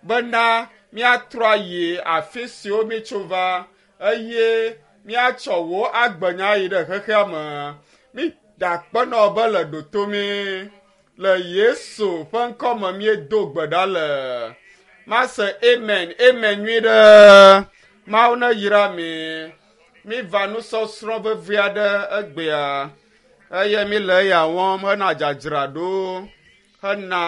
Bena míatrɔ ayi afi siwo míetso va eye míatsɔ wò agbenya yi ɖe xexea me. Mída akpe na wò be le ɖoto mí. Le Yesu ƒe ŋkɔ me míedo gbe ɖa le. Mase amen, amen nyui ɖe. Mawu ne yra mi. Míva nusɔsrɔ̃ vevi aɖe egbea eye míle eya wɔm hena dzadzraɖo hena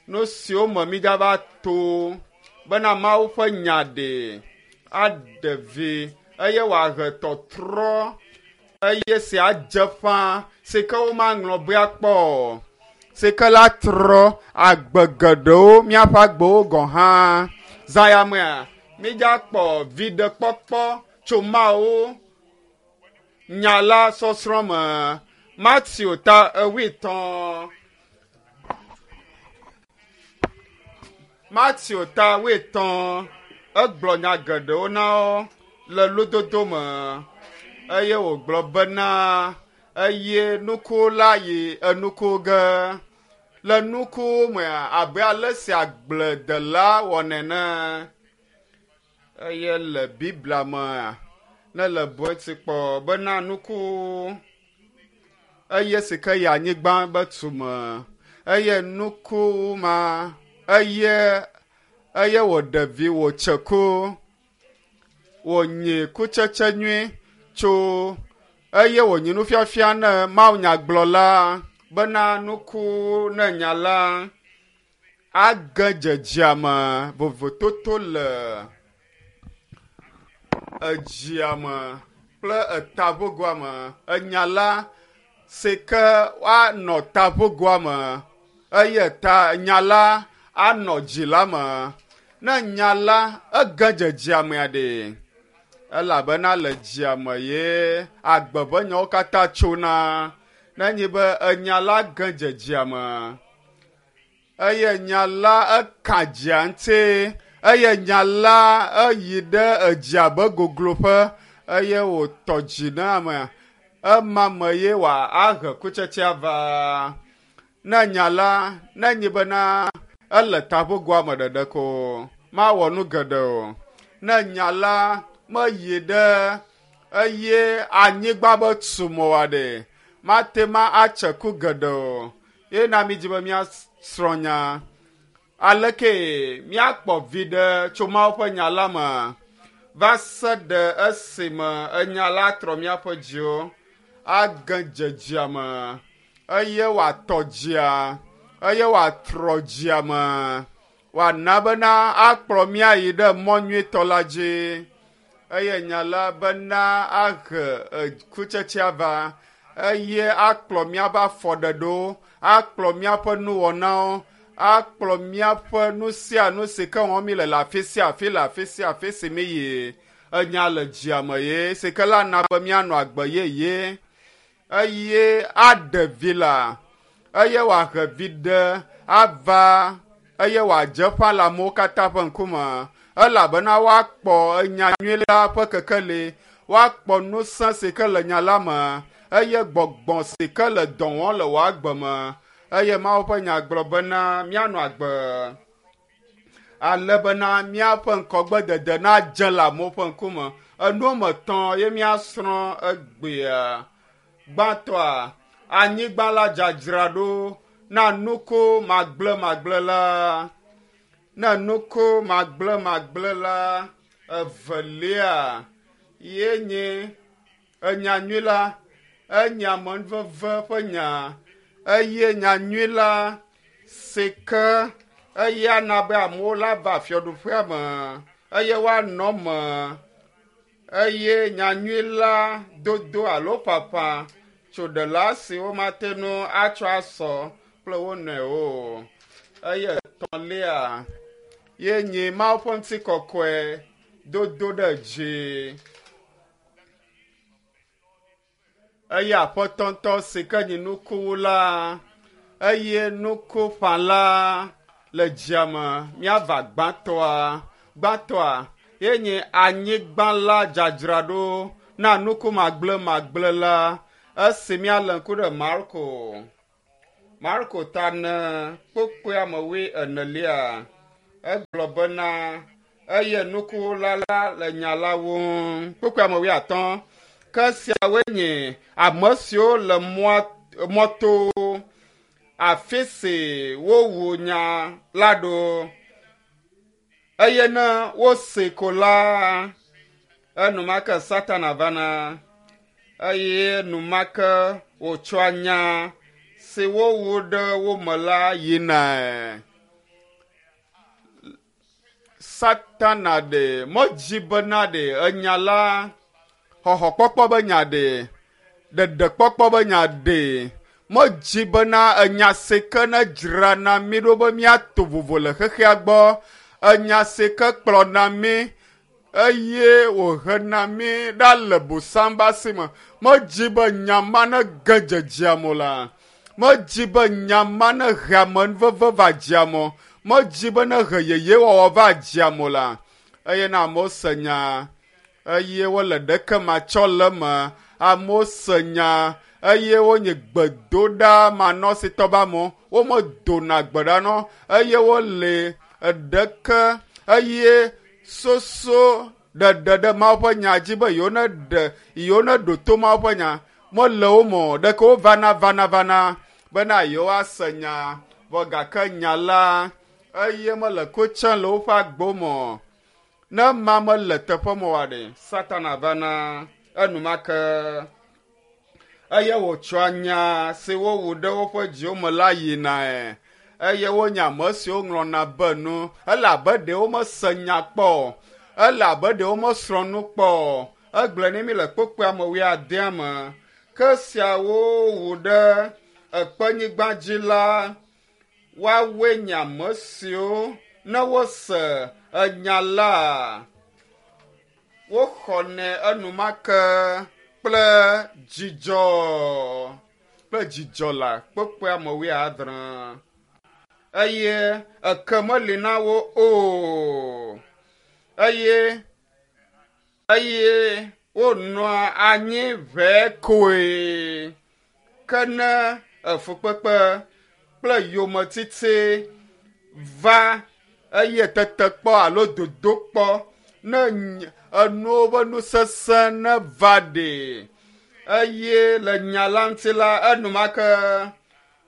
nu siwo me mígava to bena Mawu ƒe nya ɖe aɖe vi eye wòahe tɔtrɔ eye si adze ƒã si ke womaŋlɔ be akpɔ o si ke la trɔ agbe geɖewo míaƒe agbewo gɔ̃ hã. Zã ya mea, mídzakpɔ viɖekpɔkpɔ tso Mawu nya la sɔsrɔ̃ me. Mateo ta ewuietɔ̃. Mateo ta wuietɔ̃ egblɔ nya geɖewo na wo le lododo me eye wògblɔ bena eye nuku la yi enuku ge. Le nuku mea abe ale si agbledela wɔnɛ ene. Eye le Biblia mea ne le bu eti kpɔ bena nuku eye si ke yi anyigba be tume eye nuku ma eye eye wòɖe vi wòtse ku wònyi kutsetse nyui tso eye wònyi nufiafia ne mawunyagblɔla bena nuku ne nya la age dzedzea me vovototo le edzia me kple etaʋogoa me. Enya la si ke woanɔ taʋogoa me eye ta nya la anɔ dzi la me. Ne nya la ege dzedzea mea ɖe elabena le dzia me ye agbe ƒe nyawo katã tsona. Ne enyi be enya la ge dzedzea me eye nya la eka dzia ŋuti eye nya la eyi ɖe edzia be gogloƒe eye wòtɔ dzi na amea ema me ye wòahe kutsetsea va. Ne nya la ne nyi bena ele taƒogoa me ɖeɖe ko mawɔ nu geɖe o. Ne nya la meyi ɖe eye anyigba be tume oa ɖe mate ma atse ku geɖe o. Ye na mídi be míasrɔ̃ nya. Aleke míakpɔ viɖe tso Mawu ƒe nya la me va se ɖe esime enya la trɔ míaƒe dziwo age dze dzia me eye wòatɔ dzia eye wòatrɔ dzia me wòana bena akplɔ míayi ɖe mɔ nyuitɔ la dzi eye nya la bena ahe kutsetsea va eye akplɔ míaƒe afɔɖeɖewo akplɔ míaƒe nuwɔnawo akplɔ míaƒe nu sia nu si ke wɔm míle le afi sia afi le afi sia afi si míyi enya le dzia me ye si ke la na be míanɔ agbe yeye eye aɖe vi la eye wòahe vi ɖe ava eye wòadze ƒã le amewo katã ƒe ŋkume elabena woakpɔ enya nyui la ƒe kekeli woakpɔ ŋusẽ si ke le nya la me eye gbɔgbɔ si ke le dɔ wɔm le wò agbe me eye Mawu ƒe nya gblɔ bena míanɔ agbe ale bena míaƒe ŋkɔgbedede nadze le amewo ƒe ŋkume. Enu woame etɔ̃ ye míasrɔ̃ egbea. Gbãtɔa, anyigba la dzadzraɖo na nuku magblẽmagblẽ la. Ne nuku magblẽmagblẽ la, evelia ye nye enya nyui la, enye amenuveve ƒe nya eye nya nyui la si ke eya na be amewo la va fiaɖuƒea me eye woanɔ eme eye nyanyui la dodo alo ƒaƒã tso ɖela si womate ŋu atsɔ asɔ kple wo nɔewo o. Eye etɔ̃lia ye nye Mawu ƒe ŋutikɔkɔe dodo ɖe dzi. Eye Aƒetɔ ŋutɔ si ke nyi nukuwula eye nukuƒãla le dzia me míava gbãtɔa. Gbãtɔa ye nye anyigba la dzadzraɖo na nuku magblẽmagblẽ la esi míalé ŋku ɖe Marko. Marko ta ne kpukpui ame wui enelia. Egblɔ bena eye nukuwula la le nya la wum. Kpukpui ame wuiatɔ̃. Ke siawoe nye ame siwo le mɔa mɔto afi si wowu nya la ɖo. Eye ne wosee ko la, enumake Satana vana eye enumake wòtsɔa nya si wowu ɖe wo me la yinae. Satana ɖe medzi bena ɖe enya la xɔxɔkpɔkpɔ be nya ɖe, ɖeɖekpɔkpɔ be nya ɖe. Medzi bena enya si ke ne dzrana mí ɖo be míato vovo le xexea gbɔ, enya si ke kplɔna mí eye wòhena mí ɖa le bosam be asi me. Medzi be nya ma ne ge dzedzea me o la. Medzi be nya ma ne he amenuveve va dzia me o. Medzi be ne he yeyewɔwɔ va dzia me o la. Eye ne amewo se nya eye wole ɖeke matsɔ le eme, amewo se nya eye wonye gbedoɖa manɔsitɔ be amewo, womedona gbe ɖa nɔ eye wole ɖeke eye soso ɖeɖe ɖe Mawu ƒe nya dzi be yewo neɖe yewo neɖo to Mawu ƒe nya mele wo me o. Ɖeke wovana vana vana bena yewoase nya vɔ gake nya la eye mele ko tsem le woƒe agbo me o. Ne ma mele teƒe me oa ɖe, Satana vana enumake eye wòtsɔa nya si wowu ɖe woƒe dziwo me la yinae eye wonye ame siwo ŋlɔna be nu ele abe ɖe womese nya kpɔ o ele abe ɖe womesrɔ̃ nu kpɔ o. Egblɔe ne mi le kpukpui ame wuiadea me ke siawo wu ɖe ekpenyigba dzi la woawoe nye ame siwo ne wose enya la woxɔnɛ enumake kple dzidzɔ kple dzidzɔ la kpukpui ame wuiadre eye eke meli na wo o eye eye wonɔa anyi ʋɛ koe ke ne efukpekpe kple yometiti va eye tetekpɔ alo dodokpɔ ne enuwo ƒe nusese ne va ɖe eye le nya la ŋuti la enumake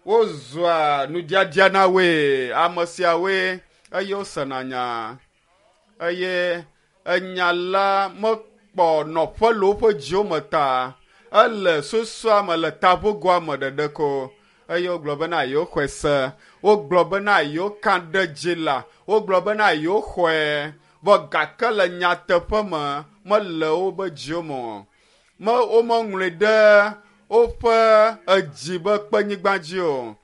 wozua nudiadia na woe ame siawoe eye wosena nya eye enya la mekpɔ nɔƒe le woƒe dziwo me ta ele susua me le taʋogoa me ɖeɖe ko eye wogblɔ bena yewoxɔe se wogblɔ bena yewoka ɖe dzi la wogblɔ bena yewoxɔe vɔ gake le nyateƒe me mele wobe dziwo me o me womeŋlɔe ɖe woƒe edzi be kpenyigba dzi o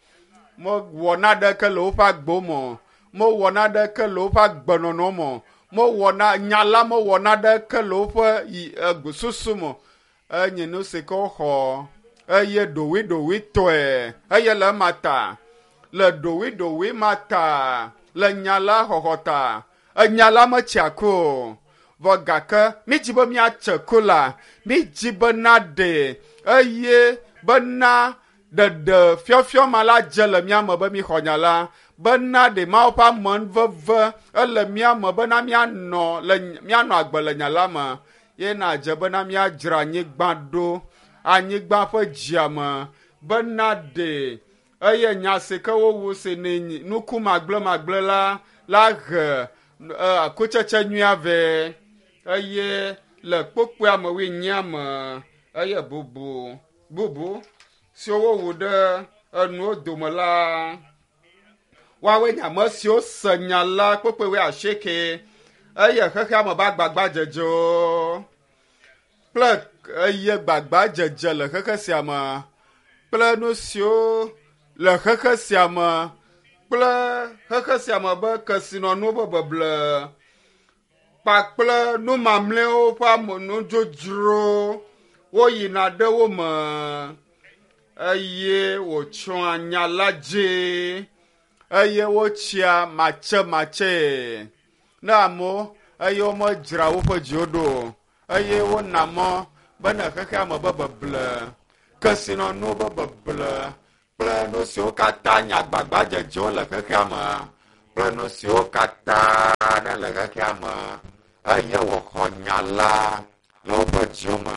mewɔ naɖeke le woƒe agbo me o mewɔ naɖeke le woƒe agbenɔnɔ me o mewɔ na nya la mewɔ naɖeke le woƒe susu me o enye nu si ke woxɔ eye ɖowiɖowitɔe eye le ema ta le ɖowiɖowi ma ta le nya la xɔxɔ ta enya la metsia ku o vɔ gake mídzi be míatse ku la mídzi be naɖe eye bena ɖeɖe fiɔfiɔ ma la dze le mía me be míxɔ nya la bena ɖe Mawu ƒe amenuveve ele mía me bena míanɔ le míanɔ agbe le nya la me ye nadze bena míadzra anyigba ɖo anyigba ƒe dzia me bena ɖe eye nya si ke wowu si ne nuku magblẽmagblẽ la la he kutsetse nyuia vɛ eye le kpokpoea me wuinyia me eye bubu bubu siwo wowu ɖe enuwo dome la woawoe nye ame siwo se nya la kpokpoe wuiasieke eye xexea me be agbagbadzedzewo kple eye gbagbadzedze le xexe sia me kple nu siwo le xexe sia me kple xexe sia me be kesinɔnuwo ƒe beble kpakple nu mamlɛwo ƒe amenudzodzro woyina ɖe wo me eye wòtsɔa nya la dzi eye wotsia matsematsee ne amewo eye womedzra woƒe dziwo ɖo o eye wona mɔ bene xexea me be beble kesinɔnuwo be beble kple nu siwo katã nye agbagbadzedzewo le xexea me kple nu siwo katã ne le xexea me eye woxɔ nya la le woƒe dziwo me.